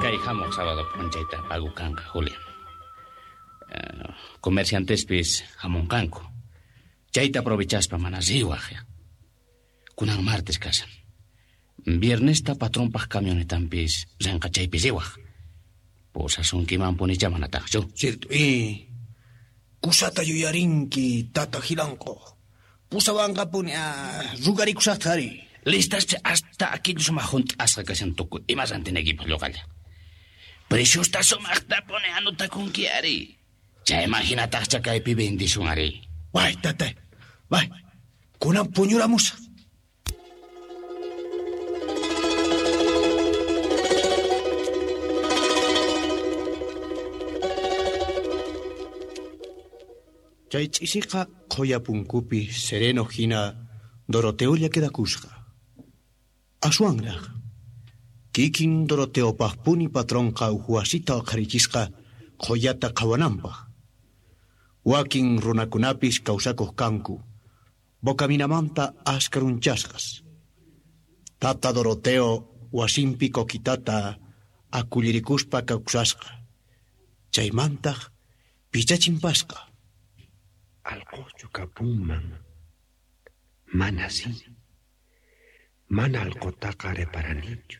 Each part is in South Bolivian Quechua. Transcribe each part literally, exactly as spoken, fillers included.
Kay hamuq sábado p'unchayta pago kanqa, Julia. Uh, comerciantespis hamunqanku. Chayta aprovechaspa mana riwaq. Kunan martes kashan. Viernesta patronpaq camionetanpis rinqa chaypi riwaq. Pusasunkimanpunicha manataqchu. Cierto, eh. Kusata yuyarinki, tata Gilanko. Pusawanqapuni, ah, rugarikusaqta ari. Listaspi hasta aquello sumaq hunt'asqa kashan tukuy ima rantinaykipaq lluqalla. Preciosta sumaqtapuni anotakunki ari. Chayman hinataqcha kaypi bendisun ari. Way, tata. Way. Kunan puñuramusaq. Chay ch'isiqa qhuya punkupi sereno hina Doroteolla quedakusqa. Aswanraq. Kikin Doroteopaqpuni patronqa uj wasita uqharichisqa qhuyata qhawananpaq. Wakin runakunapis kawsakuq kanku, Bocaminamanta askarunchasqas. Tata Doroteo wasinpi kokitata akullirikuspa kawsasqa. Chaymantaq pichachimpasqa. Alqochu kapunman. Mana si. Mana alqotaqa reparanichu.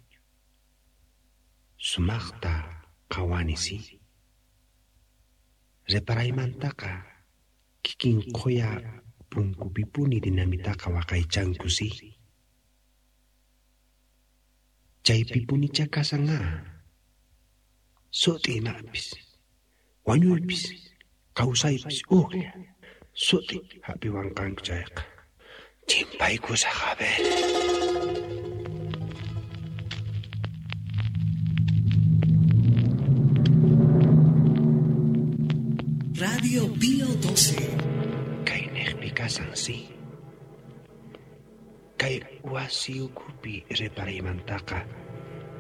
Sumaqta qhawani si. Reparaymantaqa kikin qhuya punkupipuni dinamitaqa waqaychanku si. Chaypipunicha kasan a. Sut'i imapis, wañuypis, kawsaypis ujlla. Sut'i hap'iwanqanku chayqa. Chimpaykusaq a ver. Radio Pío doce. Kayniqpi kasan si. Kay wasi ukhupi reparaymantaqa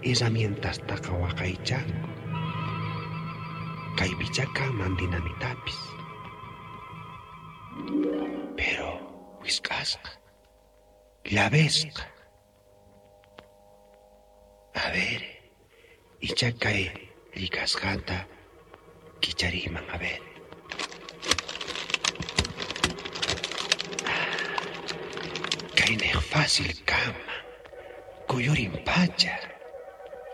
herramientastaqa waqaychanku. Kaypicha kanman dinamitapis. Pero wisq'asqa, llavesqa. A ver, icha kay llikasqanta kichariyman, a ver. Kayniq fácil kanman, kuyurin pacha.